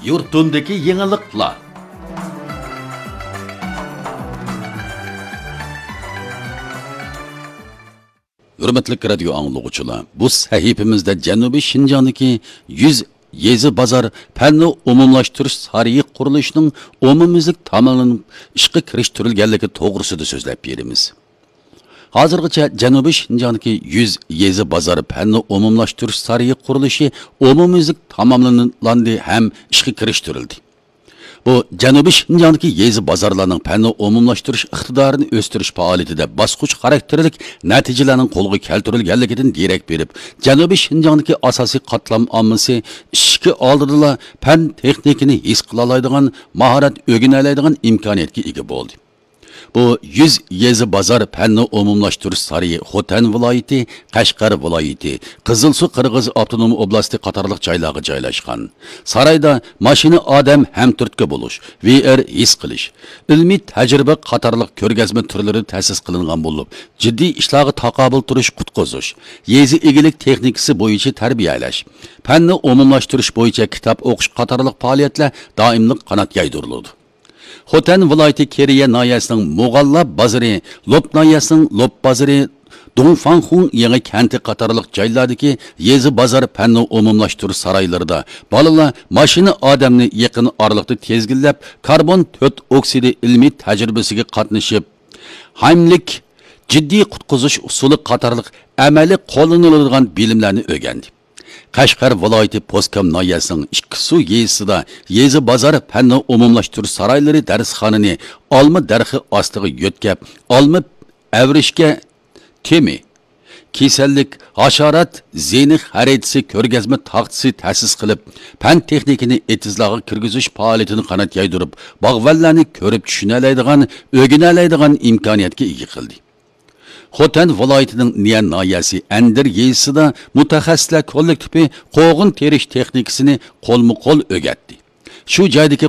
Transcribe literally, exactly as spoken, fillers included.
يۇرتۇمدىكى يېڭىلىقلار. ھۆرمەتلىك رادىيو ئاڭلىغۇچىلار، بۇ سەھىپىمىزدە جەنۇبىي شىنجاڭدىكى يۈز يېزا بازار پەن ئومۇملاشتۇرۇش سارىيى قۇرۇلۇشىنىڭ ئومۇميۈزلۈك تاماملىنىپ ئىشقا كىرىشتۈرۈلگەنلىكى توغرىسىدا سۆزلەپ بېرىمىز. ھازىرغىچە جەنۇبىي شىنجاڭدىكى يۈز يېزا بازار پەن ئومۇملاشتۇرۇش سارىيى قۇرۇلۇشى ئومۇميۈزلۈك تاماملاندى ھەم ئىشقا كىرىشتۈرۈلدى. بۇ جەنۇبىي شىنجاڭدىكى يېزا بازارلارنىڭ پەن ئومۇملاشتۇرۇش ئىقتىدارىنى ئۆستۈرۈش پائالىيىتىدە باسقۇچ خاراكتېرلىك نەتىجىلەرنىڭ قولغا كەلتۈرۈلگەنلىكىدىن دېرەك بېرىپ، جەنۇبىي شىنجاڭدىكى ئاساسىي قاتلام ئاممىسى ئىشىكى ئالدىدىلا پەن تېخنىكىنى ھېس قىلالايدىغان، ماھارەت ئۆگىنەلەيدىغان ئىمكانىيەتكە ئىگە بولدى. بۇ يۈز يېزا بازار پەننى ئومۇملاشتۇرۇش سارىيى خوتەن ۋىلايىتى، قەشقەر ۋىلايىتى، قىزىلسۇ قىرغىز ئاپتونوم ئوبلاستى قاتارلىق جايلارغا جايلاشقان. سارايدا ماشىنا ئادەم ھەمتۈرتكە بولۇش، ۋي ئېر ھېس قىلىش، ئىلمىي تەجرىبە قاتارلىق كۆرگەزمە تۈرلىرى تەسىس قىلىنغان بولۇپ، جىددىي ئىشلارغا تاقابىل تۇرۇش قۇتقۇزۇش، يېزا ئىگىلىك تېخنىكىسى بويىچە تەربىيەلەش، پەننى ئومۇملاشتۇرۇش بويىچە كىتاب ئوقۇش قاتارلىق پائالىيەتلەر دائىملىق قانات يايدۇرۇلىدۇ. خوتەن ۋىلايىتى كېرىيە ناھىيەسىنىڭ مۇغاللا بازىرى، لوپ ناھىيەسىنىڭ لوپ بازىرى، دۇڭفاڭخۇڭ يېڭى كەنتى قاتارلىق جايلاردىكى يېزا بازار پەننى ئومۇملاشتۇرۇش سارايلىرىدا بالىلار ماشىنا ئادەمنى يېقىن ئارىلىقتا تىزگىنلەپ، كاربون تۆت ئوكسىدى ئىلمىي تەجرىبىسىگە قاتنىشىپ، ھايملىك جىددىي قۇتقۇزۇش ئۇسۇلى قاتارلىق ئەمەلىي قوللىنىلىدىغان بىلىملەرنى ئۆگەندى. قەشقەر ۋىلايىتى پوسكام ناھىيەسىنىڭ ئىككى سۇ يېزىسىدا يېزا بازار پەننى ئومۇملاشتۇرۇش سارايلىرى دەرسخانىنى ئالما دەرىخى ئاستىغا يۆتكەپ، ئالما ئەۋرىشكە تېمى، كېسەللىك، ھاشارات زىيىنى خەرىتىسى كۆرگەزمە تاختىسى تەسىس قىلىپ، پەن تېخنىكىنى ئېتىزلارغا كىرگۈزۈش پائالىيىتىنى قانات يايدۇرۇپ، باغۋەنلەرنى كۆرۈپ چۈشىنەلەيدىغان، ئۆگىنەلەيدىغان ئىمكانىيەتكە ئىگە قىلدى. خوتەن ۋىلايىتىنىڭ نىيەن ناھىيەسى ئەندىر يېزىسىدا مۇتەخەسسىسلەر كوللېكتىپى قوغۇن تېرىش تېخنىكىسىنى قولمۇ قول ئۆگەتتى. شۇ جايدىكى